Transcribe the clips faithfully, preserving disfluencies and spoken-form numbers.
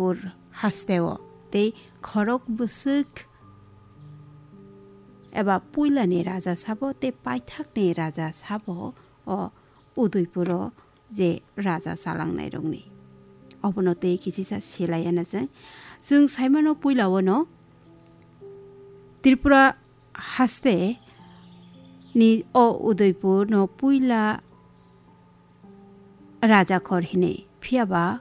Udaipur hasteo tei khorok bwswk eba puilani raja sabo tei paithakni raja sabo o Udaipuro je raja chalangnairokni. Obono tei kichisa silaiyana chwng. Chwng saimano puilao no Tripura haste ni o Udaipur no puila raja khor hinwi. Phiya ba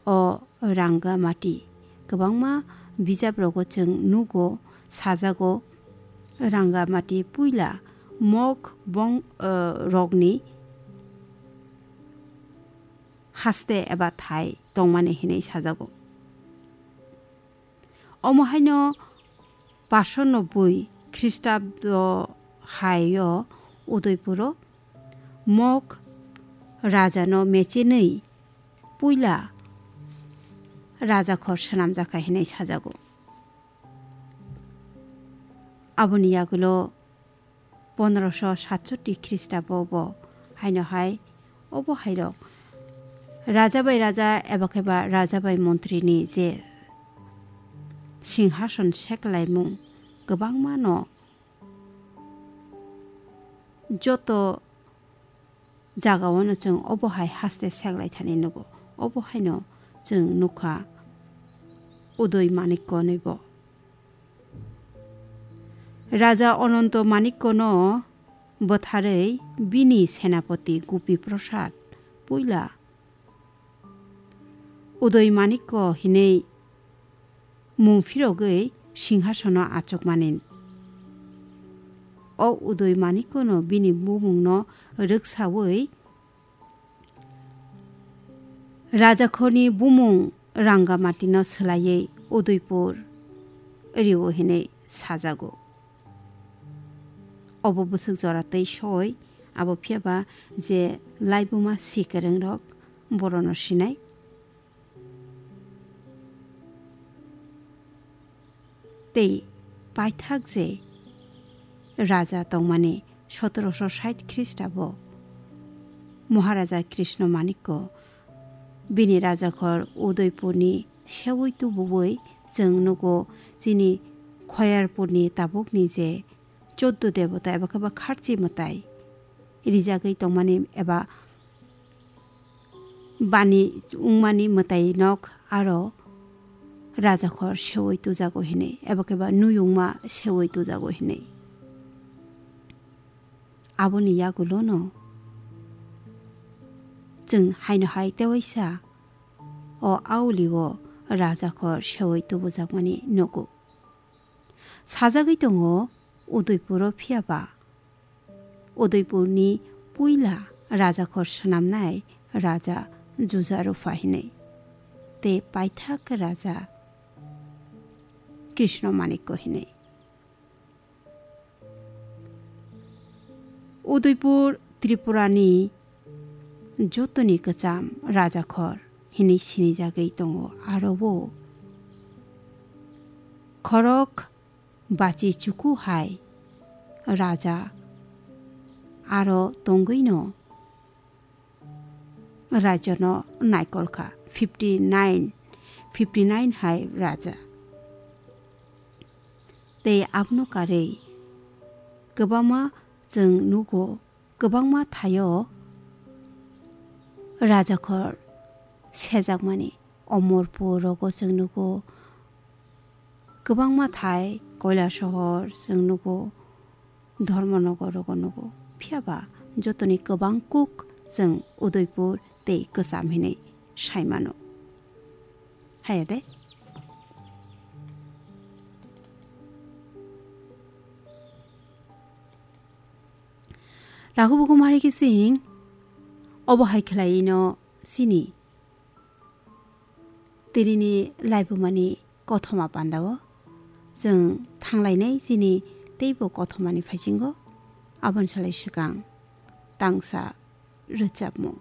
o Rangamati kwbangma bijap rogo chwng nugo, sajago Rangamati puila Mok bong, eh, rokni haste eba thai tongmani hinwi sajago. Omo haino paso nobboi Khristabdo haio Udaipuro Mok rajano mechenwi puila raja khor swnamjakha hinwi sajago. Aboni yagulo pondroso satsotti Khristabo bo haino hai, obo hairok raja bai raja eba khe ba raja bai montrini je singhason seklaimung kwbangma no joto jagao no chwng obo hai haste seklai thani nugo. Obo haino chwng nukha Udoi Manikko nwibo. Raja Ononto Manikko no bwtharwi bini senapoti Gupi Prasad puila Udoi Manikko hinwi mung phirogwi singhasono achukmani. O Udoi Manikkono bini bumungno rwksawi rajakhorni bumung Rangamatino swlaiwi Udaipur rio hinwi sajago. Obo bwswk jora tei soi, abo phiya ba je laibuma si kwrwngrok borono sinai. Tei paithak je raja tongmani sotoroso sait Khristabo Maharaja Krishna Manikko bini rajakhor Udaipurni seui tubuwi chwng nugo chini Khoyarpurni tabukni je choddo debota eba khe ba kharchi mwtai rijagwi tongmani eba bani wngmani mwtai nok aro rajakhor seui tujago hinwi eba khe ba nuyungma seui tujago hinwi. Aboni yagulono chwng haino hai tewaisa o aulio rajakhor seui tubujakmani nugo. Sajagwi tongo Udaipuro phiya ba Udaipurni puila rajakhor swnamnai raja Juja Rupa hinwi tei paithak raja Krishna Manikko hinwi. Udaipur Tripurani jotoni kwcham rajakhor hinwi sinijagwi tongo. Aro o khorok bachi chuku hai raja aro tongwino rajano naikol kha, fifty nine, fifty nine hai raja. Tei abono karwi kwbangma chwng nugo, kwbangma thaio rajakhor sejakmani. Omorpur rogo chwng nugo, kwbangma thai Koilasohor chwng nugo, Dharmanagar rogo nugo. Phiya ba jotoni kwbang kuk chwng Udaipur tei kwcham hinwi saimano. Haya de? Takhuk bukhuk mari khe chwng obo hai khlaiwi no chini tinini laibumani kothoma pandao chwng thanglainai chini teibo kothomani phaisingo. Aboni salai swkang tangsa rwchapmung.